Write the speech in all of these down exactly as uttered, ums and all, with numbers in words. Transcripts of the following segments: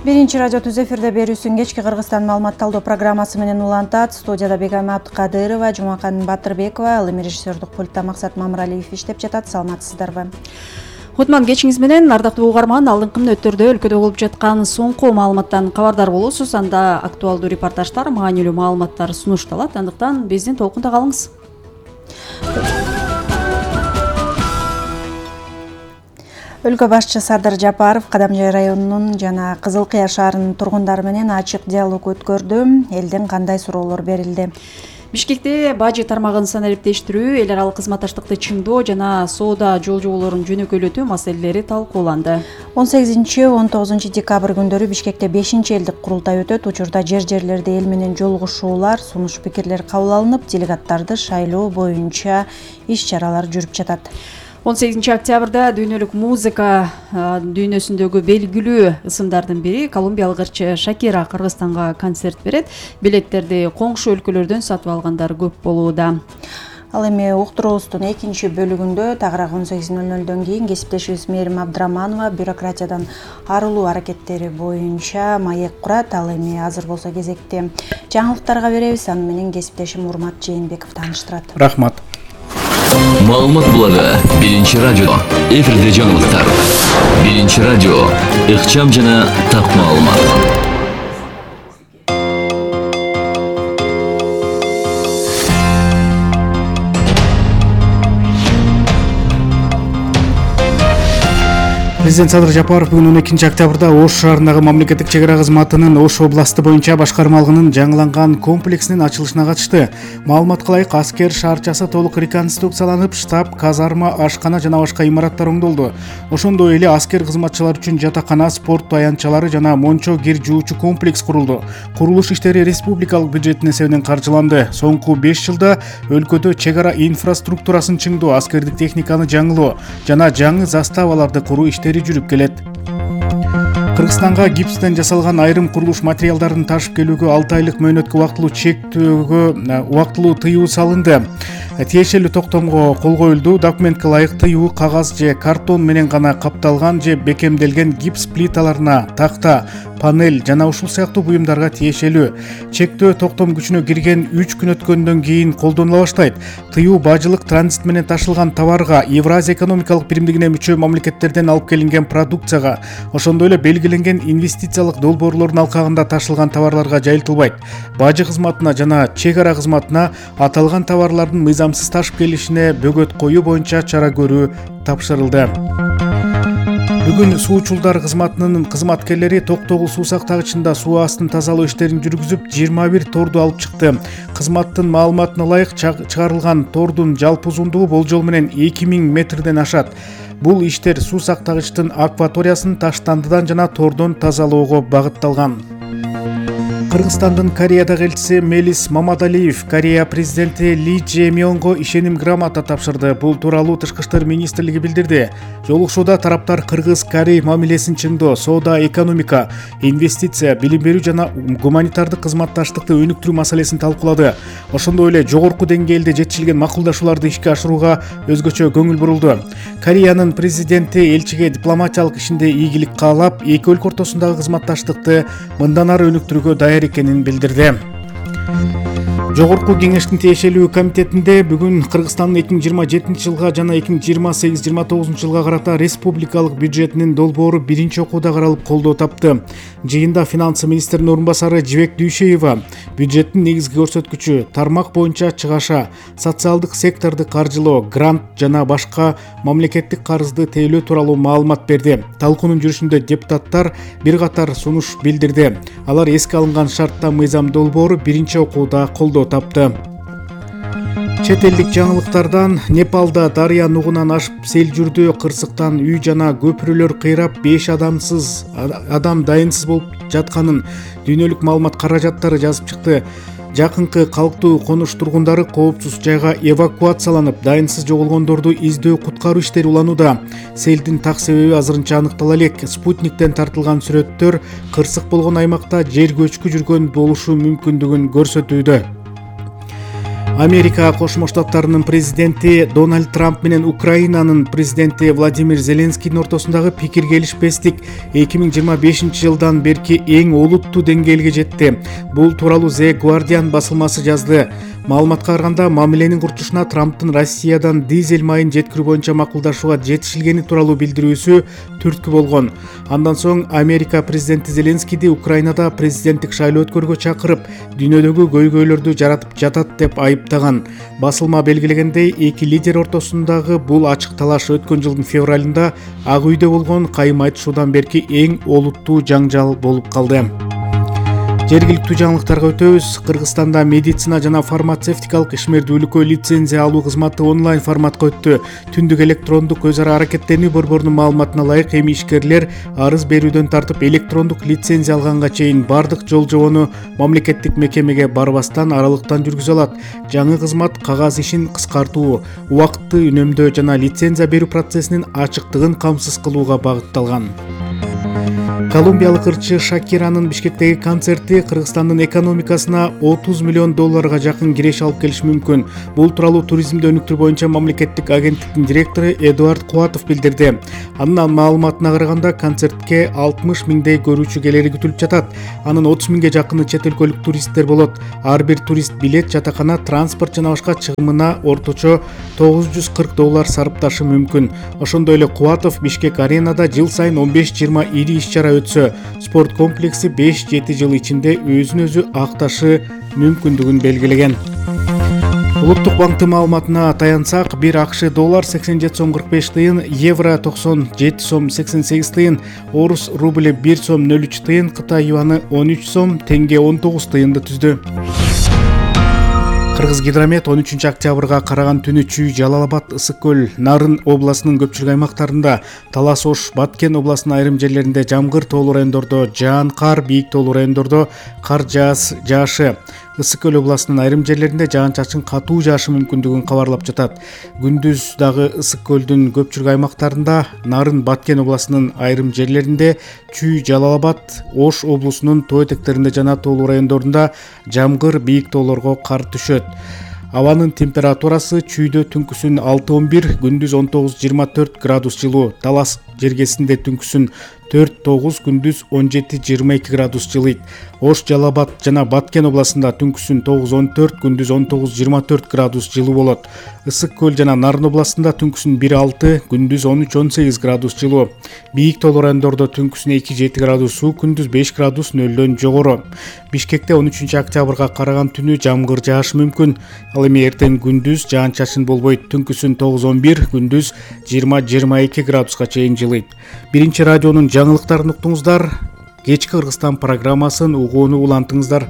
Биринчи радио түз эфирде берүүсүн кечки Кыргызстан маалымат талдоо программасы менен улантат. Студияда Бегайма Абдыкадырова, Жумакан Батырбекова, ал эми режиссердук пультта Максат Мамыралиев иштеп жатат. Саламатсыздарбы? Кутман кечиңиз менен, ардактуу угарман, алдыңкы мүнөттөрдө өлкөдө болуп жаткан соңку маалыматтан кабардар болосуз. Анда актуалдуу репортаждар, маанилүү маалыматтар сунушталат. Андыктан биздин толкунда калыңыз. Өлкө башчы Садыр Жапаров Кадамжай районунун жана Кызыл Кыя шаарынын тургундары менен ачык диалог өткөрдү. Элден кандай суроолор берилди? Бишкекте бажы тармагын санариптештирүү, эл аралык кызматташтыкты чыңдоо жана соода жол жоболорун жөнөкөйлөтүү маселелери талкууланды. он сегизинчи он тогузунчу декабрь күндөрү Бишкекте бешинчи элдик курултай өтөт. Учурда жер-жерлерде эл менен жолугушуулар, сунуш пикирлер кабыл алынып, делегаттарды шайлоо боюнча иш-чаралар жүрүп жатат. он сегизинчи октябрда дүйнөлүк музыка дүйнөсүндөгү белгилүү ысымдардын бири колумбиялык ырчы Шакира Кыргызстанга концерт берет. Билеттерди коңшу өлкөлөрдөн сатып алгандар көп болууда. Ал эми уктуруубуздун экинчи бөлүгүндө тагыраак он сегиз ноль нолдон кийин кесиптешибиз Мээрим Абдыраманова бюрократиядан арылуу аракеттери боюнча маек курат. Ал эми азыр болсо кезекти жаңылыктарга беребиз. Аны менен кесиптешим Урмат Жээнбеков тааныштырат. Рахмат. Маалымат булагы Биринчи радио. Эфирде жаңылыктар. Биринчи радио. Ыкчам жана так маалымат. Президент Садыр Жапаров бүгүн он экинчи октябрда Ош шаарындагы мамлекеттик чек ара кызматынын Ош областы боюнча башкармалыгынын жаңыланган комплексинин ачылышына катышты. Маалыматка ылайык, аскер шаарчасы толук реконструкцияланып, штаб, казарма, ашкана жана башка имараттар оңдолду. Ошондой эле аскер кызматчылары үчүн жатакана, спорт таянчалары жана мончо кир жуучу комплекс курулду. Курулуш иштери республикалык бюджеттин эсебинен каржыланды. Соңку беш жылда өлкөдө чек ара инфраструктурасын чыңдоо, аскердик техниканы жаңылоо жана жаңы заставаларды куруу иштери жүрүп келет. Кыргызстанга гипстен жасалган айрым курулуш материалдарын ташып келүүгө алты айлык мөөнөткө убактылуу чектөөгө убактылуу тыюу салынды. Тиешелүү токтомго кол коюлду. Документке ылайык тыюу кагаз же картон менен гана капталган же бекемделген гипс плиталарына, такта, панель жана ушул сыяктуу буюмдарга тиешелүү. Чектөө токтом күчүнө кирген үч күн өткөндөн кийин колдонула баштайт. Тыюу бажылык транзит менен ташылган товарга, Евразия экономикалык биримдигине мүчө мамлекеттерден алып келинген продукцияга, ошондой эле белгиленген инвестициялык долбоорлордун алкагында ташылган товарларга жайылтылбайт. Бажы кызматына жана чек ара кызматына аталган товарлардын мыйзамсыз ташып келишине бөгөт коюу боюнча чара көрүү тапшырылды. Бүгүн суучулдар кызматынын кызматкерлери Токтогул суу сактагычында суу астын тазалоо иштерин жүргүзүп, жыйырма бир торду алып чыкты. Кызматтын маалыматына ылайык, чыгарылган тордун жалпы узундугу болжол менен эки миң метрден ашат. Бул иштер суу сактагычтын акваториясын таштандыдан жана тордон тазалоого багытталган. Кыргызстандын Кореядагы элчиси Мелис Мамадалиев Корея президенти Ли Чжэ Мёнго ишеним грамота тапшырды. Бул тууралуу Тышкы иштер министрлиги билдирди. Жолугушууда тараптар Кыргыз-Корей мамилесин чыңдоо, соода, экономика, инвестиция, билим берүү жана гуманитардык кызматташтыкты өнүктүрүү маселесин талкуулады. Ошондой эле жогорку деңгээлде жетишилген макулдашууларды ишке ашырууга өзгөчө көңүл бурулду. Кореянын президенти элчиге дипломатиялык ишинде ийгилик каалап, эки өлкө ортосундагы кызматташтыкты мындан ары өнүктүрүүгө даяр экенин билдирди. Жогорку кеңештин тиешелүү комитетинде бүгүн Кыргызстандын эки миң жыйырма жетинчи жылга жана эки миң жыйырма сегиз жыйырма тогузунчу жылга карата республикалык бюджетинин долбоору биринчи окууда каралып колдоо тапты. Жыйында финансы министринин орун басары Жибек Дүйшеева бюджеттин негизги көрсөткүчү, тармак боюнча чыгаша, социалдык секторду каржылоо, грант жана башка мамлекеттик карызды тейлөө тууралуу маалымат берди. Талкуунун жүрүшүндө депутаттар бир катар сунуш билдирди. Алар эске алынган шартта мыйзам долбоору биринчи окууда колдоо тапты. Чет элдик жаңылыктардан Непалда дарыя нугунан ашып сел жүрдү. Кырсыктан үй жана көпүрөлөр кыйрап беш адамсыз адам дайынсыз болуп жатканын дүйнөлүк маалымат каражаттары жазып чыкты. Жакынкы калктуу конуш тургундары коопсуз жайга эвакуацияланып, дайынсыз жоголгондорду издөө куткаруу иштери уланууда. Селдин так себеби азырынча аныктала элек. Спутниктен тартылган сүрөттөр кырсык болгон аймакта жер көчкү жүргөн болушу мүмкүндүгүн көрсөтүүдө. Америка Кошмо Штаттарынын президенти Дональд Трамп менен Украинанын президенти Владимир Зеленскийдин ортосундагы пикир келишпестик эки миң жыйырма бешинчи жылдан берки эң олуттуу деңгээлге жетти. Бул тууралуу The Guardian басылмасы жазды. Маалыматка караганда, мамиленин курчушуна Трамптын Россиядан дизель майын жеткирүү боюнча макулдашууга жетишилгени тууралуу билдирүүсү түрткү болгон. Андан соң Америка президенти Зеленскийди Украинада президенттик шайлоо өткөрүүгө чакырып, дүйнөдөгү көйгөйлөрдү жаратып жатат деп айыптаган. Басылма белгилегендей, эки лидер ортосундагы бул ачык талаш өткөн жылдын февралында Ак үйдө болгон кайым айтышуудан берки эң олуттуу жаңжал болуп калды. Жергиликтүү жаңылыктарга өтөбүз. Кыргызстанда медицина жана фармацевтикалык ишмердүүлүккө лицензия алуу кызматы онлайн форматка өттү. Түндүк электрондук өз ара аракеттенүү борборунун маалыматына ылайык, эми ишкерлер арыз берүүдөн тартып электрондук лицензия алганга чейин бардык жол жобону мамлекеттик мекемеге барбастан аралыктан жүргүзө алат. Жаңы кызмат кагаз ишин кыскартуу, убакытты үнөмдөө жана лицензия берүү процессинин ачыктыгын камсыз кылууга багытталган. Колумбиялык ырчы Шакиранын Бишкектеги концерти Кыргызстандын экономикасына отуз миллион долларга жакын киреш алып келиши мүмкүн. Бул тууралуу туризмди өнүктүрүү боюнча мамлекеттик агенттиктин директору Эдуард Куатов билдирди. Анын маалыматына караганда, концертке алтымыш миңдей көрүүчү келери күтүлүп жатат. Анын отуз миңге жакыны чет өлкөлүк туристтер болот. Ар бир турист билет, жатакана, транспорт жана башка чыгымына орточо тогуз жүз кырк доллар сарпташы мүмкүн. Ошондой эле Куатов Бишкек аренада жыл сайын он беш жыйырма ири иш-чара өтсө, спорт комплекси беш жети жыл ичинде өзүн өзү акташы мүмкүндүгүн белгилеген. Улуттук банктын маалыматына таянсак, бир АКШ доллар сексен жети сом кырк беш тыйын, евро токсон жети сом сексен сегиз тыйын, орус рубль бир сом нөл үч тыйын, Кытай юаны он үч сом, теңге он тогуз тыйынды түздү. Кыргыз гидромет он үчүнчү октябрга караган түнү Чүй, Жалал Абад, Ысык көл, Нарын областынын көпчүлүк аймактарында, Талас Ош, Баткен областынын айрым жерлеринде жамгыр, тоолуу райондордо жаан кар, бийик тоолуу райондордо кар жаашы. Ысык көл областынын айрым жерлеринде жаан-чачын катуу жаашы мүмкүндүгүн кабарлап жатат. Күндүз дагы Ысык көлдүн көпчүлүк аймактарында, Нарын, Баткен областынын айрым жерлеринде, Чүй, Жалал Абад, Ош облусунун тоо этектеринде жана тоолуу райондорунда жамгыр, бийик тоолорго кар түшөт. Абанын температурасы Чүйдө түнкүсүн алты он бир, күндүз он тогуз жыйырма төрт градус жылуу, Талас жергесинде түнкүсүн төрт тогуз, күндүз он жети жыйырма эки градус жылыйт. Ош, Жалал Абад жана Баткен областында түнкүсүн тогуз он төрт, күндүз он тогуз жыйырма төрт градус жылуу болот. Ысык көл жана Нарын областында түнкүсүн бир алты, күндүз он үч он сегиз градус жылуу. Бийик тоолуу райондордо түнкүсүн эки жети градус суу, күндүз беш градус нөлдөн жогору. Бишкекте он үчүнчү октябрга караган түнү жамгыр жаашы мүмкүн. Ал эми эртең күндүз жаан-чачын болбойт. Түнкүсүн тогуз он бир, күндүз жыйырма жыйырма эки градуска чейин жылыйт. Биринчи радионун жаңылыктарын уктуңуздар. Кечки Кыргызстан программасын угууну улантыңыздар.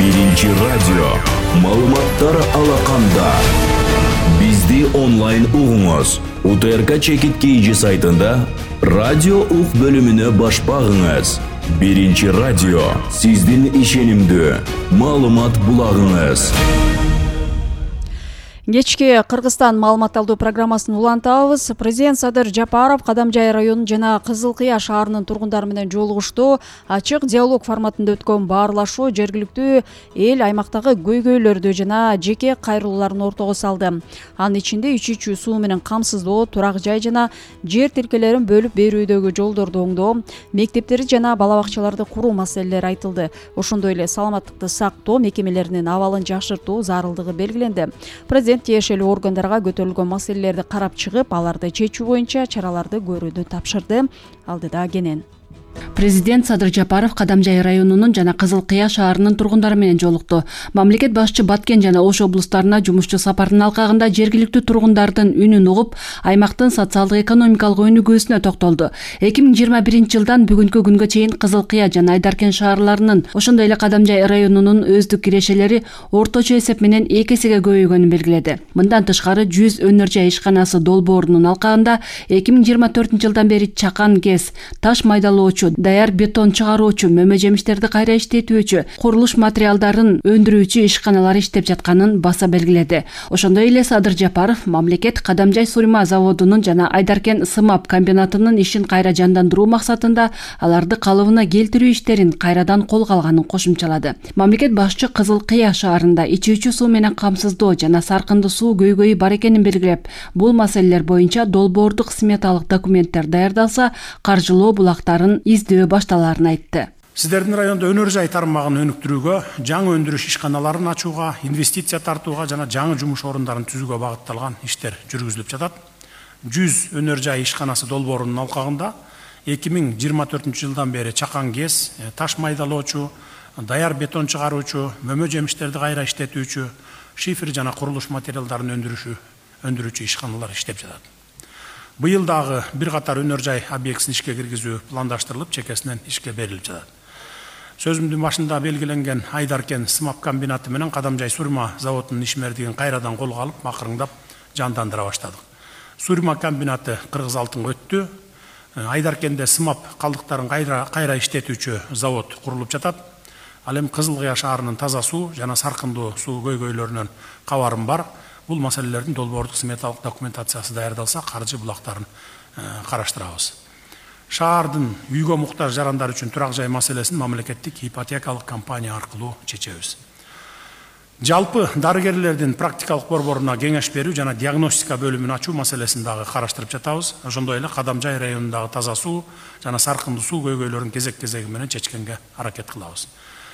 Биринчи радио. Маалыматтар алаканда. Бизди онлайн угуңуз. УТРК чекит кейжи сайтында радио ук бөлүмүнө баш багыңыз. Биринчи радио. Сиздин ишенимдүү маалымат булагыңыз. Кечки Кыргызстан маалымат алуу программасын улантабыз. Президент Садыр Жапаров Кадамжай районунун жана Кызыл Кыя шаарынын тургундары менен жолугушту. Ачык диалог форматында өткөн баарлашуу жергиликтүү эл аймактагы көйгөйлөрдү жана жеке кайрылууларын ортого салды. Анын ичинде ичүүчү суу менен камсыздоо, турак жай жана жер тилкелерин бөлүп берүүдөгү жолдорду оңдоо, мектептерди жана бала бакчаларды куруу маселелери айтылды. Ошондой эле саламаттыкты сактоо мекемелеринин абалын жакшыртуу зарылдыгы белгиленди. Президент тиешелүү органдарга көтөрүлгөн маселелерди карап чыгып, аларды чечүү боюнча чараларды көрүүнү тапшырды. Алдыда кенен. Президент Садыр Жапаров Кадамжай районунун жана Кызыл Кыя шаарынын тургундары менен жолукту. Мамлекет башчы Баткен жана Ош облустарына жумушчу сапардын алкагында жергиликтүү тургундардын үнүн угуп, аймактын социалдык экономикалык өнүгүүсүнө токтолду. эки миң жыйырма биринчи жылдан бүгүнкү күнгө чейин Кызыл Кыя жана Айдаркен шаарларынын, ошондой эле Кадамжай районунун өздүк кирешелери орточо эсеп менен эки эсеге көбөйгөнүн белгиледи. Мындан тышкары жүз өнөр жай ишканасы долбоорунун алкагында эки миң жыйырма төртүнчү жылдан бери чакан кез, таш майдалоочу чыгаруучу, даяр бетон чыгаруучу, мөмө жемиштерди кайра иштетүүчү, курулуш материалдарын өндүрүүчү ишканалар иштеп жатканын баса белгиледи. Ошондой эле Садыр Жапаров мамлекет Кадамжай сурма заводунун жана Айдаркен сымап комбинатынын ишин кайра жандандыруу максатында аларды калыбына келтирүү иштерин кайрадан колго алганын кошумчалады. Мамлекет башчы Кызыл Кыя шаарында ичүүчү суу менен камсыздоо жана саркынды суу көйгөйү бар экенин белгилеп, бул маселелер боюнча долбоордук сметалык документтер даярдалса, каржылоо булактарын издөө башталарын айтты. Сиздердин районда өнөр жай тармагын өнүктүрүүгө, жаңы өндүрүш ишканаларын ачууга, инвестиция тартууга жана жаңы жумуш орундарын түзүүгө багытталган иштер жүргүзүлүп жатат. жүз өнөр жай ишканасы долбоорунун алкагында эки миң жыйырма төртүнчү жылдан бери чакан кез, таш майдалоочу, даяр бетон чыгаруучу, мөмө жемиштерди кайра иштетүүчү, шифер жана курулуш материалдарын өндүрүүчү өндүрүүчү ишканалар иштеп жатат. Быйыл дагы бир катар өнөр жай объектисин ишке киргизүү пландаштырылып, чекесинен ишке берилип жатат. Сөзүмдүн башында белгиленген Айдаркен сымап комбинаты менен Кадамжай сурма заводунун ишмердигин кайрадан колго алып, макырыңдап жандандыра баштадык. Сурма комбинаты кыргыз алтынга өттү. Айдаркенде сымап калдыктарын кайра кайра иштетүүчү завод курулуп жатат. Ал эми Кызыл Кыя шаарынын таза суу жана саркындуу суу көйгөйлөрүнөн кабарым бар. Бул маселелердин долбоордук сметалык документациясы даярдалса, каржы булактарын караштырабыз. Шаардын үйгө муктаж жарандар үчүн турак жай маселесин мамлекеттик ипотекалык компания аркылуу чечебиз. Жалпы дарыгерлердин практикалык борборуна кеңеш берүү жана диагностика бөлүмүн ачуу маселесин дагы караштырып жатабыз. Ошондой эле Кадамжай районундагы таза суу жана саркындуу суу көйгөйлөрүн кезек-кезеги менен чечкенге аракет кылабыз.